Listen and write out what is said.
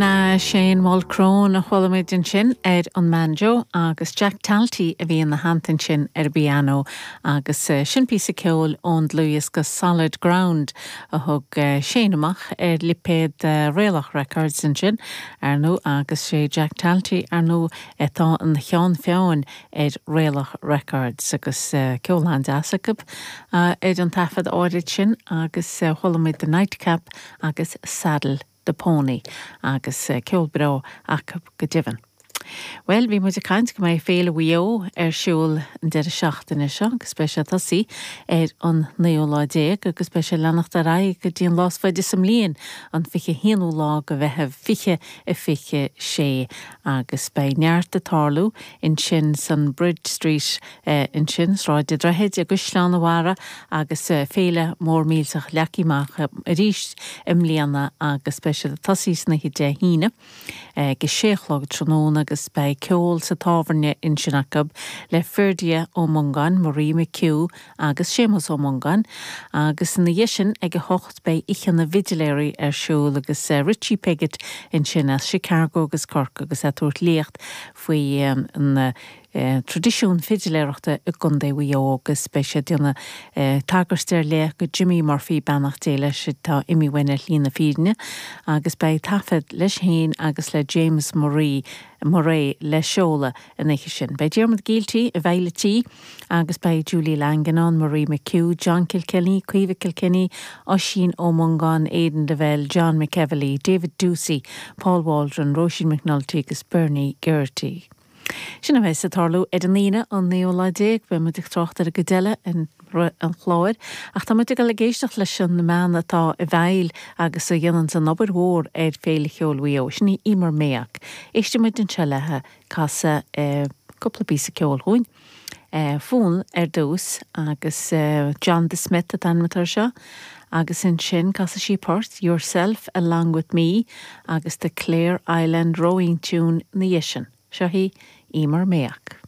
Shane Mulchrone a chuala muid ansin ar an mbanjo agus Jack Talty a bhí ina theannta ansin ar an bpianó agus sin píosa ceoil ón dlúthdhiosca Solid Ground a thug Shane amach ar lipéad Raolach Records ansin, ar ndóigh, agus sé Jack Talty, ar ndóigh, atá ina cheann feadhain ar Raolach Records agus ceol an-deas acu ar an taifead áirid sin agus chuala muid The Nightcap agus Saddle. The Pony agus ceol breá acu go deimhin. Bhuel, bhí muid ag caint go mbeidh Féile Mhaigh Eo ar siúl an deireadh seachtaine seo agus beidh sé ag tosaí ar an naoú lá déag agus beidh sé ag leanacht ar aghaidh go dtí an lá is faide sa mbliain, an 21ú lá de Mheitheamh 2026 agus beidh neart ag tarlú ansin san Bridge Street Ansin, Sráid an Droichid i gCaisleán an Bharraigh agus féile mór millteach leagtha amach arís i mbliana agus beidh siad ag tosaí san oíche Dé hAoine ag a sé a chlog tráthnóna agus beidh ceol sa tábhairne ansin acu le Ferdia Ó Mongáin, Marie McHugh agus Séamus Ó Mongáin agus ina dhiaidh sin ag a hocht beidh Oíche na bhFidiléirí ar siúl agus Richie Piggott ansin as Chicago agus Cork agus é ag tabhairt léacht faoi an traidisiún fidiléireachta i gContae Mhaigh Eo agus beidh sé ag déanamh tagairt ar leith go Jimmy Murphy, beannacht Dé leis, atá imithe uainn ar shlí na fírinne, agus beidh taifead leis féin agus le James Murray Murray le seoladh an oíche sin. Beidh Diarmuid Gielty i bhfeighil an tí agus beidh Julie Langan ann, Marie McHugh, John Kilkenny, Caoimhe Kilkenny, Oisín Ó Mongáin, Aidan Lavelle, John McEvilly, David Doocey, Paul Waldron, Róisín McNulty agus Bernie Geraghty. Sin a bheas ag tarlú ar an Aoine, an naoú lá déag. Beidh muid ag trácht ar an gcuid eile i rith an chláir. Ach tá muid ag dul ag éisteacht leis an mbean atá i bhfeighil agus a dhéananns an obair mhór ar Féile Cheoil Mhaigh Eo. Sin í Emer Mayock. Éistfidh muid anseo léi ag casadh cúpla píosa ceoil dhúinn. Fonn ar dtús agus John the Smith an t-ainm atá air seo agus ansin casfaidh sí port Yourself Along With Me agus The Clare Island Rowing Tune ina dhiaidh sin. Seo í Emer Mayock.